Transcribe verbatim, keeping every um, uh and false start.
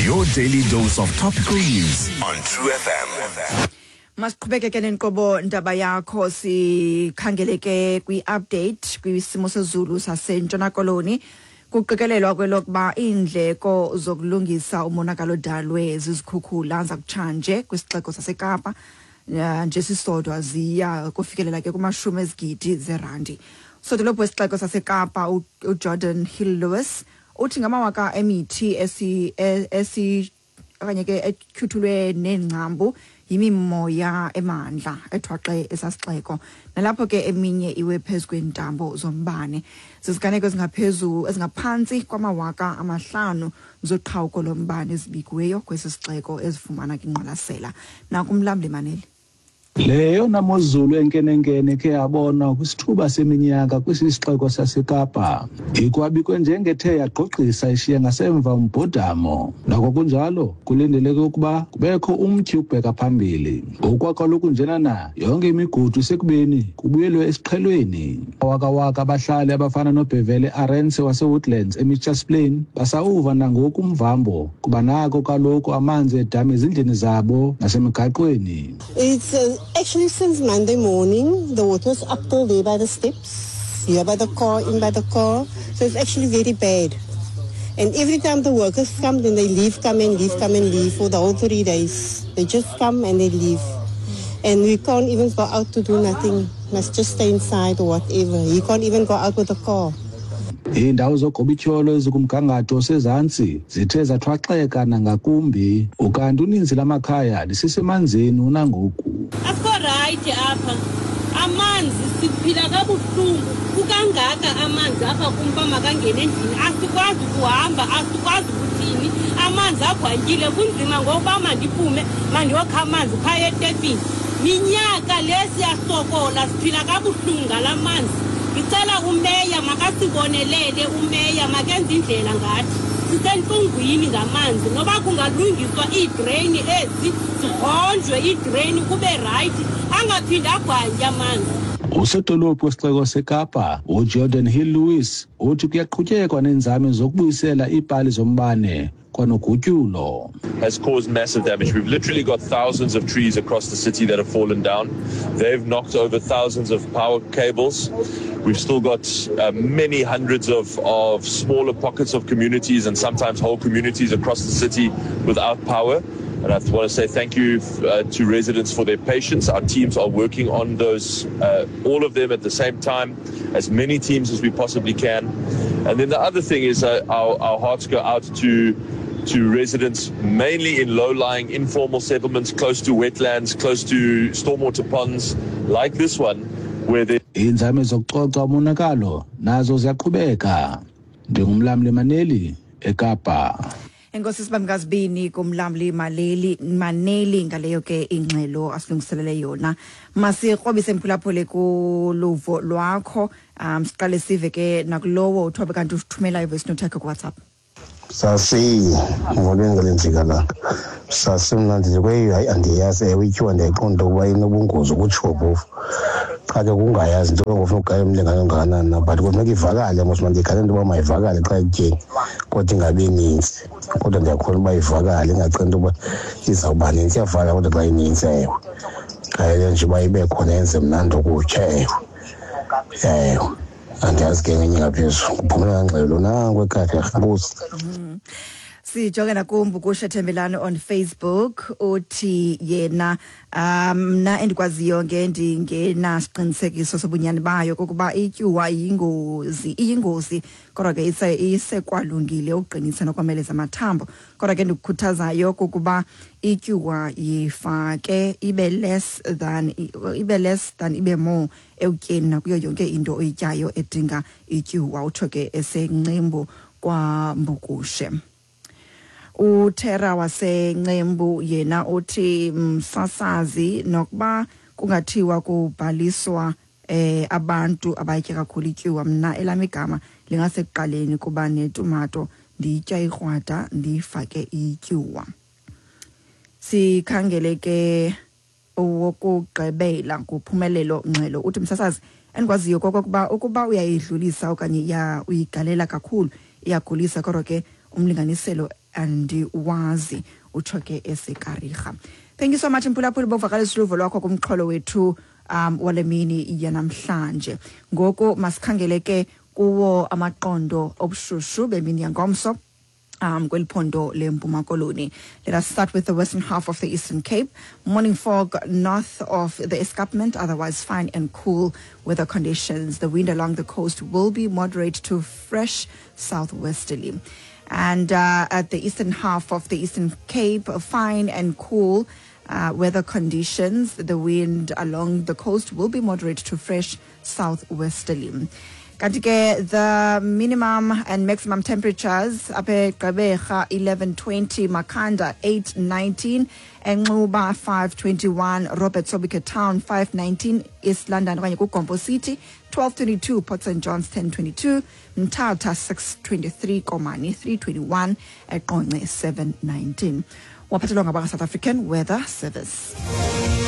Your daily dose of topical news on True F M. Masiqhubeke ke nenkqubo Ndaba Yakho, sikhangele ke kwi-update kwisimo sezulu saseNtshona Koloni. Kuqikelelwa kwelokuba iindleko zokulungisa umonakalo odalwe zizikhukhula zakutshanje kwisixeko saseKapa eh, nje sisodwa ziya kufikelela ke kumashumi ezigidi zerandi. Sodolophu wesixeko saseKapa u- uGeordin Hill-Lewis uthi ngamawaka emithi esi esi okanye ke etyhuthulwe neengcambu yimimoya emandla ethwaxe esasixeko, nalapho ke eminye iwe phezu kweentambo zombane. Ziziganeko ezingaphezu ezingaphantsi kwamawaka amahlanu zoqhawuko lombane ezibikiweyo kwesi sixeko ezifumana kwingqwalasela. Nakumlamli Maneli. Leyona mozulu enkenenkene khe yabonwa kwisithuba seminyaka kwesi sixeko saseKapa ikwabikwe njengethe yagqogqisa ishiya ngasemva umbhodamo. Noko kunjalo, kulindeleke ukuba kubekho umtyhi ukubheka phambili. Ngokwakaloku njenana yonke imigudu isekubeni kubuyelwe esiqhelweni. Awakawaka abahlali abafana noBhevele Arense waseWoodlands eMitchells Plain basawuva nangoku umvambo, kuba nako kaloku amanzi edama ezindlini zabo nasemigaqweni. It's uh, actually since Monday morning, the water's up till there by the steps, here by the car, in by the car. So it's actually very bad. And every time the workers come, then they leave, come and leave, come and leave for the whole three days. They just come and they leave. And we can't even go out to do nothing. Must just stay inside or whatever. You can't even go out with the car. Iindawo zogobityholo ezikumgangatho osezantsi zithe zathwaxeka nangakumbi, ukanti uninzi lamakhaya lisesemanzini unangoku. Asikho right apha. Amanzi, siphila kabuhlungu. Kukangaka amanzi apha kumba makangene endlini, asikwazi ukuhamba, asikwazi ukuthini. Amanzi agwantyile, kunzima ngokuba mandiphume mandiyokha amanzi phaya etepini. Minyaka le siyasokola, siphila kabuhlungu ngala manzi. Ndicela umeya makasibonelele, umeya makenze indlela ngathi. Sisentlungwini ngamanzi. Noba kungalungiswa iidreyini ezi, zihonjwe iidreyini, kube right, angaphinde agwantye amanzi. Usodolophu wesixeko seKapa uGeordin Hill-Lewis uthi kuyaqhutyekwa neenzame zokubuyisela iipali zombane kwanogutyulo. Has caused massive damage. We've literally got thousands of trees across the city that have fallen down. They've knocked over thousands of power cables. We've still got uh, many hundreds of, of smaller pockets of communities and sometimes whole communities across the city without power. And I want to say thank you uh, to residents for their patience. Our teams are working on those, uh, all of them at the same time, as many teams as we possibly can. And then the other thing is uh, our, our hearts go out to to residents mainly in low-lying informal settlements close to wetlands, close to stormwater ponds like this one, where there Iinzame zokucoca umonakalo nazo ziyaqhubeka. Ndingumlamli Maneli eKapa. Enkosi sibamkazibini kumlamli Maleli Maneli ngaleyo ke ingxelo asilungiselele yona. Masikrobise, mphulaphuli, kuluvo lwakho. um siqale sive ke nakulowo uthobe kanti usithumela ivoice note yakhe kuWhatsApp. Sasi, molweni ngale njikalanga. Sasi, mna ndithi kweyo, hayi, andiyazi. Ewe, ityiwa ndiyayiqonda ukuba inobungozi ukutsho phofu, qha ke kungayazi into ngofuna ugaya umlingane ongakanani na, but kufuneka ivakale mos. Mandiyikhale into yoba mayivakale xa ekutyeni, kodwa ingabi nintsi. Kodwa ndiyakholwa uba ivakale, ingaceli into yoba izawuba nintsi. Iyavakala kodwa xa inintsi, ewe, khayele nje uba ibe khona, yenze mnandi ukutya. Ewe, ewe, andiyazi ke ngenye ngaphezulu. Kuphumela ngxelo nanku ekhaya. Enkosi. Sijonge nakumbukusha Thembelani on Facebook, uthi yena, um mna endikwaziyo ngendingenasiqinisekiso sobunyani bayo kokuba ityuwa iyingozi iyingozi kodwa ke ise isekwalungile ukuqinisa nokomeleza amathambo. Kodwa ke ndikukhuthazayo kokuba ityuwa yifake ibe less than ibe less than ibe more ekutyeni nakuyo yonke into oyityayo edinga ityuwa. Utsho ke eseNcembu kwaMbukushe. UTera waseNcembu yena uthi, msasazi, nokuba kungathiwa kubhaliswa eh abantu abayitya kakhulu ityuwa, mna elami igama lingasekuqaleni, kuba netumato ndiyitya ikrwada, ndiyifake ityuwa. Sikhangele ke owokugqibela, nguphumelelo Ngxelo, uthi, msasazi, endikwaziyo kokokuba ukuba uyayidlulisa okanye iya uyigalela kakhulu iyagulisa, kodwa ke umlinganiselo Andiwazi, utsho ke eseKariga. Thank you so much, mphulaphuli, bovakalisa uluvo lwakho kumxholo wethu um wale mini yanamhlanje. Ngoku masikhangele ke kuwo amaqondo obushushu bemini yangomso um kweli phondo leMpuma Koloni. Let us start with the western half of the Eastern Cape. Morning fog north of the escarpment, otherwise fine and cool weather conditions. The wind along the coast will be moderate to fresh southwesterly. And uh, at the eastern half of the Eastern Cape, fine and cool uh, weather conditions. The wind along the coast will be moderate to fresh southwesterly. Kanti ke the minimum and maximum temperatures apha eGqeberha eleven twenty, Makhanda eight nineteen, eNxuba five twenty-one, Robert Sobukwe Town five nineteen, East London okanye kuGompo City twelve twenty-two, Port Saint Johns ten twenty-two, Mthatha six twenty-three, Komani three twenty-one, eQonce seven nineteen. Waphathelwa ngabaka South African Weather Service.